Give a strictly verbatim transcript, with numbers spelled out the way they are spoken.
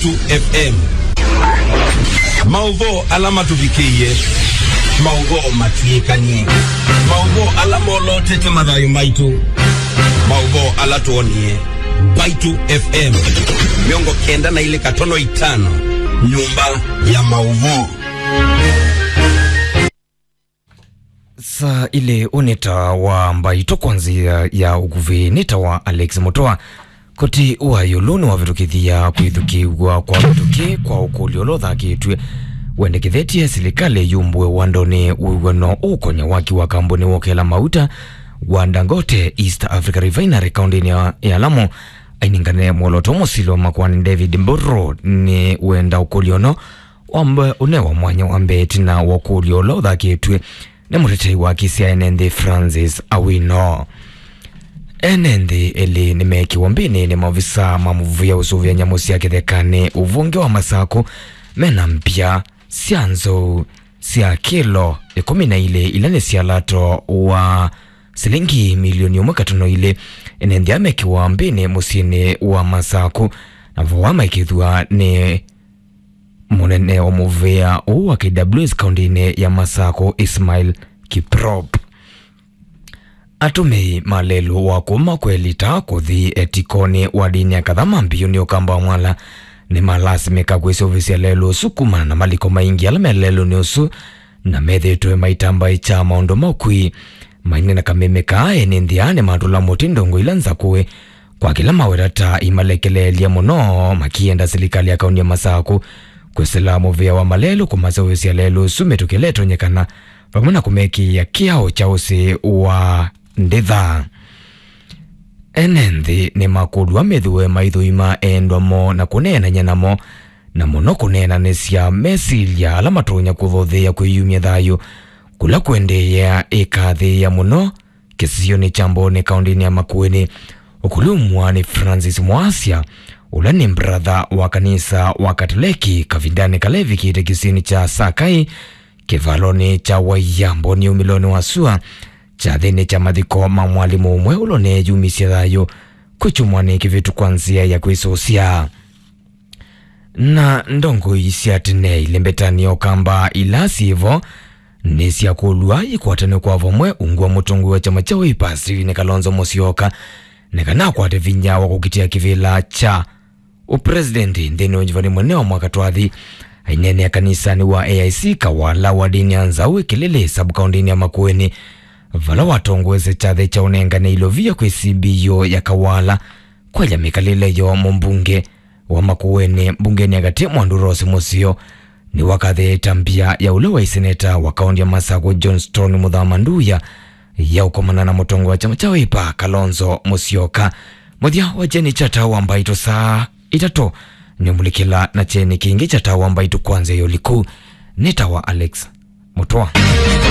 Mbaitu F M. Maũvoo ala matũvikĩie, maũvoo matw'ĩkanie, maũvoo ala molotete mathayũ maitũ, maũvoo ala twonie. Mbaitu F M mĩongo kenda na ilĩ katono itano, nyũmba ya maũvoo. Saa ilĩ, ũnĩ ta wa Mbaitu kwa nzĩa ya ũkuvĩ, nĩ ta wa Alex Mũtwa. Koti wa ĩũlũ nĩwavĩtũkĩthya kwĩthukĩĩw'a kwa mĩtũkĩ kwa ũkũlyo ũla ũthakĩtw'e wendekethetye silikalĩ yumbũe wandonĩ wĩw'ano ũũkonya waki wa kambuni wa ũkela mauta wa Dangote East Africa Refinery kaũndĩnĩ ya, ya Lamu. Ainengane mwolooto mũsili wa makoani David Mburu nĩ wenda ũkũlyo ũno wambe ũnewa mwanya wa mbee ĩtina wa ũkũlyo ũla ũthakĩtw'e nĩ mũtetei wa kĩsya ene nthĩ Francis Awino. Ene nthĩ elĩ nĩmeekiwe mbĩnĩ nĩ maovisa ma mũvĩa ũsũvĩa nyamũ sya kĩthekanĩ ũvũngĩ wa Masakũ mena mbya sya nzou sya kĩlo ĩkũmi na ilĩ ila nĩ sya lato wa silingi milioni ĩmwe katono ilĩ. Ene nthĩ aa meekiwa mbĩnĩ mũsyĩnĩ wa Masakũ na vo wa maikĩthw'a nĩ mũnene wa mũvĩa ũũ wa K W S kaũndĩnĩ ya Masakũ, Ismail Kiprop. Atũmĩi ma lelũ wa kuma Kwelita kũthi Etikoni wadini ya Kathama Mbiũ nĩ Ũkamba wa Mwala nĩmalasimĩka kwĩsũvĩsya lelũ ũsu kumana na maliko maingĩ ala me lelũnĩ ũsu na methĩĩtwe maitambaĩkya maũndũ ma ũkui. Mainena kameme kaa, ene nthĩ aa nĩmatũla mũtĩ ndongo ila nzakũe kwa kĩla maweta ta imalekeleelya mũno, makĩenda silikalĩ ya kaũntĩ ya Masakũ kwĩsĩla mũvĩa wa malelũ kũmasũvĩsya lelũ ũsu mĩtũkĩ ĩla ĩtonyekana, vamwe na kũmekĩĩa kĩao kya ũsĩ wa ndĩtha. Ene nthĩ nĩmakũlw'a methĩwe maithũima endwa moo na kũneenany'a namo, na mũno kũneenanĩsya mesilya ala matonya kũthotheea kwĩyumya thayũ kũla kũendeea ĩkathĩĩa mũno kĩsionĩ kya Mbooni kaũndĩnĩ ya Makueni. Ũkũlumw'a nĩ Francis Mwasya, ũla nĩ mbratha wa kanisa wa Katoleki, kavindanĩ kala evikĩte kĩsionĩ kya Sakai, kĩvalonĩ kya Waia, Mbooni, umĩlonĩ wa sua, kyathĩnĩ kya mathiko ma mwalimũ ũmwe ũla ũneeyumisye thayũ kwĩ kyumwanĩ kĩvĩtu kwa nzĩa ya kwĩsũsya. Na ndongoi sya tene ilembetanĩa Ũkamba ila syĩ vo nĩsyakũlw'a ikwatanw'e kwa vamwe ungu wa mũtongoi wa kyama kya Wiper Stephen Kalonzo Musyoka nĩ kana akwate vinya wa kũkitĩa kĩvĩla kya ũpresidenti nthĩnĩ wa ũnyuvani mũnene wa mwaka twathi. Aineenea kanisanĩ wa A I C Kawala wadini ya Nzau Ĩkĩlĩlĩ sub-kaũndĩnĩ ya Makueni, vala watongoesye kyathĩ kya ũnengane ilovia kwĩ C B O ya Kawala kwaĩlya mĩkalĩle yo mũmbunge wa Makueni mbungenĩ ya katĩ Mwandu Rose Mũseo nĩwakathĩĩte mbia ya ũla waĩ seneta wa kaũntĩ ya Masakũ Johnston Mũthama Nduya ya ũkomana na mũtongoi wa kyama kya Wiper Kalonzo Musyoka. Mũthya wa kyeni kya Taa wa Mbaitũ saa itatũ nĩũmulĩkĩla na kyeni kĩngĩ kya Taa wa Mbaitũ kwa nzĩa ya ũliku. Nĩ ta wa Alex Mũtwa.